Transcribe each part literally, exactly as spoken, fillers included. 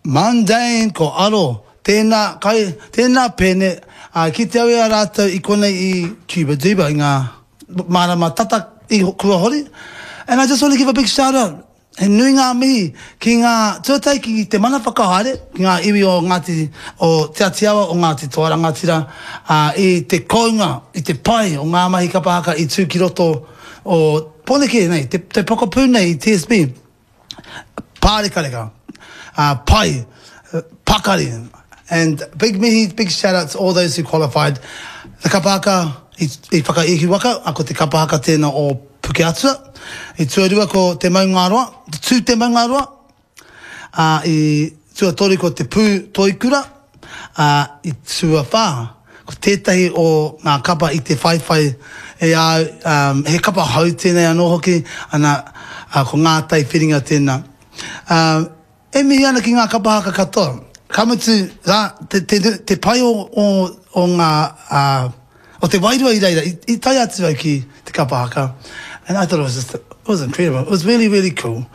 Mundane, ko Aro, tēnā kai, tēnā pēne, ā, kite au i a rātou i konei i Cuba Duba i ngā marama tata i kua hori. And I just want to give a big shout out. He nui ngā mihi ki ngā tuatahi ki te mana whakahaere, ki ngā iwi o Ngāti, o Te Ati Awa, o Ngāti Toa Rangatira, ā, i te kounga, i te pai o ngā mahi kapa haka i tū ki roto o Pōneke nei, te, te pokapū nei i T S B. Pārekareka, ā, pai, pakari. And big mihi, big shout out to all those who qualified. The kapa haka i, i Whakaihu Waka, a ko te kapa haka tēnā o Pukeatua. I tuarua ko Te Maungaroa, te Tū Te Maungaroa. Ā, i tuatoru ko Te Pū Toikura. Ā, i tuawhā, ko tētahi o ngā kapa i te whaiwhai e au, um, he kapa hou tēnei anō hoki, ana, ā, ko Ngā Tai Whiringa tēnā. Ā, e mihi ana ki ngā kapa haka katoa. Ka mutu, rā, te, te, te pai o, o, o ngā, ā, o te wairua i reira, i, i tae atu au ki te kapa haka. And I thought it was just, it was incredible. It was really, really cool.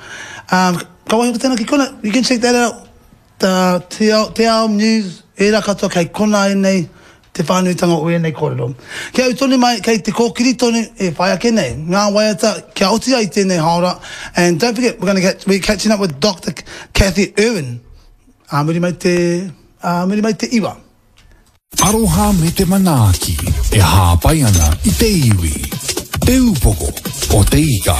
Um, ka waiho ko tēnā ki kona, you can check that out. The, te, ao, te Ao News, ērā katoa kei kona ēnei, te whānuitanga o ēnei kōrero. Kia au tonu mai, kei te kōkiri tonu e whai ake nei. Ngā waiata, kia oti ai tēnei haora. And don't forget, we're gonna get, we're catching up with Doctor Cathy Irwin. Ā muri mai te, ā muri mai te iwa. Aroha me te manaaki e hāpai ana i te iwi. Te Upoko o te Ika.